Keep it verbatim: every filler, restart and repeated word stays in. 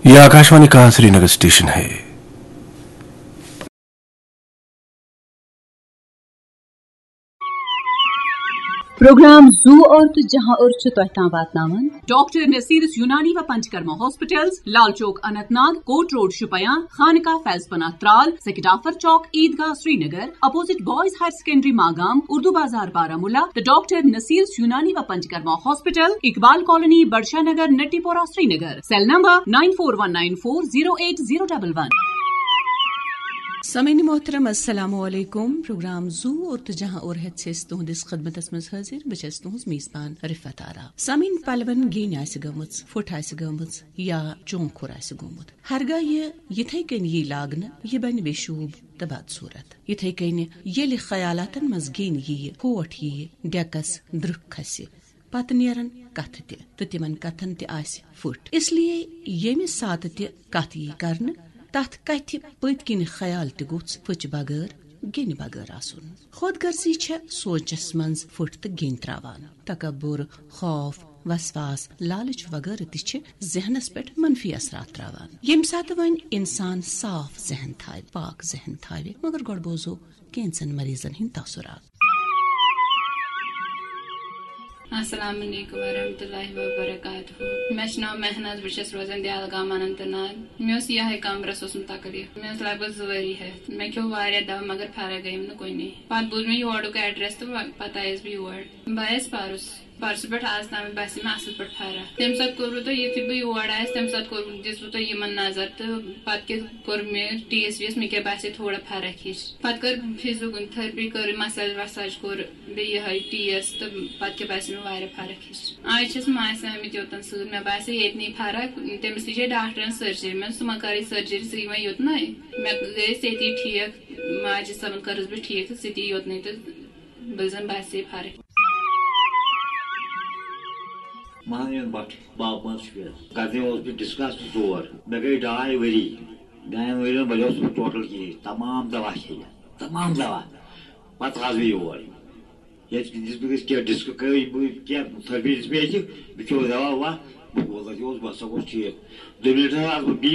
ये आकाशवाणी का श्रीनगर स्टेशन है। پروگرام زُو اور تہٕ جہاں اور چھُ تۄہہِ تام واتناوان ڈاکٹر نصیرس یونانی و Panchakarma hospitals, Lal Chowk Anant Nag, Kot road Shopian, Khanqah Faiz Panah Tral, Sekidafar Chowk, Eidgah Srinagar, opposite boys higher secondary Magam, Urdu Bazar Baramulla, تہٕ ڈاکٹر نصیرس یونانی و Panchakarma hospital, Iqbal colony, Badshah Nagar, Natipora, Srinagar. Cell number nine four one nine four zero eight zero double one۔ سامعین محترم، السلام علیکم۔ پروگرام زُو اور تہٕ جہاں اور ہیتھ چھِ أسۍ تُہنٛدِس خدمتس منٛز حٲضِر۔ بہٕ چھَس تُہنٛز میزبان رفعت آرا۔ سامعین، پلون گیٖنۍ آسہِ گٔمٕژ، پھُٹ آسہِ گٔمٕژ یا چونٛکھ کھوٚر آسہِ گوٚمُت، ہرگاہ یہِ یِتھے کٔنۍ یی لاگنہٕ، یہِ بنہِ بے شوٗب تہٕ بدصوٗرت۔ یِتھے کٔنۍ ییٚلہِ خیالاتن منٛز گیٖنۍ یِیہِ، کھوٹ یِیہِ، ڈیکس درٕکھ کھسہِ، پتہٕ نیرن کتھٕ تہِ تہٕ تِمن کتھن تہِ آسہِ پھُٹ۔ اس لیے ییٚمہِ ساتہٕ تہِ کتھ یی کرنہٕ، تتھ کتھِ پٔتۍ کِنۍ خیال تہِ گوٚژھ پھُچہِ بغٲر، گیٚنہِ بغٲر آسُن۔ خود غرضی چھےٚ سونچس منٛز پھُٹ تہٕ گیٚنۍ تراوان۔ تکبر، خوف، وسواس، لالچ وغٲرٕ تہِ چھِ ذہنس پٮ۪ٹھ منفی اثرات تراوان۔ ییٚمہِ ساتہٕ وۄنۍ انسان صاف ذہن تھاوِ، پاک ذہن تھاوِ، مگر گۄڈٕ بوزو کینٛژن مریضن ہٕنٛدۍ تاثرات۔ السلام علیکم ورحمۃ اللہ وبرکاتہ۔ مےٚ چھُ ناو مہناز، بہٕ چھَس روزان دیالگام اننت ناگ۔ مےٚ اوس یِہوٚے کمرَس اوسمُت تکلیٖف۔ مےٚ ٲس لگ بگ زٕ ؤری ہٮ۪تھ۔ مےٚ کھیوٚو واریاہ دوا مگر فرق گٔیم نہٕ کُنی۔ پتہٕ بوٗز مےٚ یورُک ایڈریس تہٕ وۄنۍ پتہٕ آیَس بہٕ یور۔ بہٕ آیَس پرُس۔ پرسہٕ پٮ۪ٹھ آز تام باسے مےٚ اصل پٲٹھۍ فرق۔ تمہِ ساتہٕ کوٚروٕ تۄہہِ، یُتھُے بہٕ یور آیس، تمہِ ساتہٕ کوٚر، دِژوٕ تۄہہِ یِمن نظر تہٕ پتہٕ کیٛاہ کوٚر مےٚ ٹی ایس وی یس، مےٚ کیٛاہ باسے تھوڑا فرق ہِش۔ پتہٕ کٔر فزیو تھرپی، کٔر مساج وساج کوٚر، بیٚیہِ یِہے ٹی ایس، تہٕ پتہٕ کیٛاہ باسے مےٚ واریاہ فرق ہِش۔ آز چھَس ماسہِ آمٕتۍ یوتن سۭتۍ، مےٚ باسے ییٚتنٕے فرق۔ تٔمِس تہِ چھے ڈاکٹرن سرجری، مےٚ دوٚپ، ژٕ مہ کرٕے سرجری، ژٕ یہِ وۄنۍ یوتنٕے۔ مےٚ گٔیَس ییٚتی ٹھیٖک، ماجہِ صٲبن کٔرٕس بہٕ ٹھیٖک تہٕ ژٕ تہِ یوتنٕے تہٕ بہٕ زن باسے فرق۔ مہانیون بٹ، باب منٛز شُپین۔ گردنہِ اوس مےٚ ڈسکس زور۔ مےٚ گٔے ڈاے ؤری۔ ڈاین ؤرین بلیوس نہٕ بہٕ ٹوٹل کِہیٖنۍ۔ تمام دوا کھیٚیہِ، تمام دوا۔ پتہٕ آس بہٕ یور۔ ییٚتہِ دِژ مےٚ کینٛہہ ڈسک، کٔرۍ بہٕ کینٛہہ تھرپی دِژ مےٚ ییٚتہِ۔ مےٚ کھیوٚو دوا ووا۔ بہٕ گوٚو تتہِ اوس، بہٕ ہسا گوٚوس ٹھیٖک۔ دوٚیمہِ لٹہِ ہسا آس بہٕ بی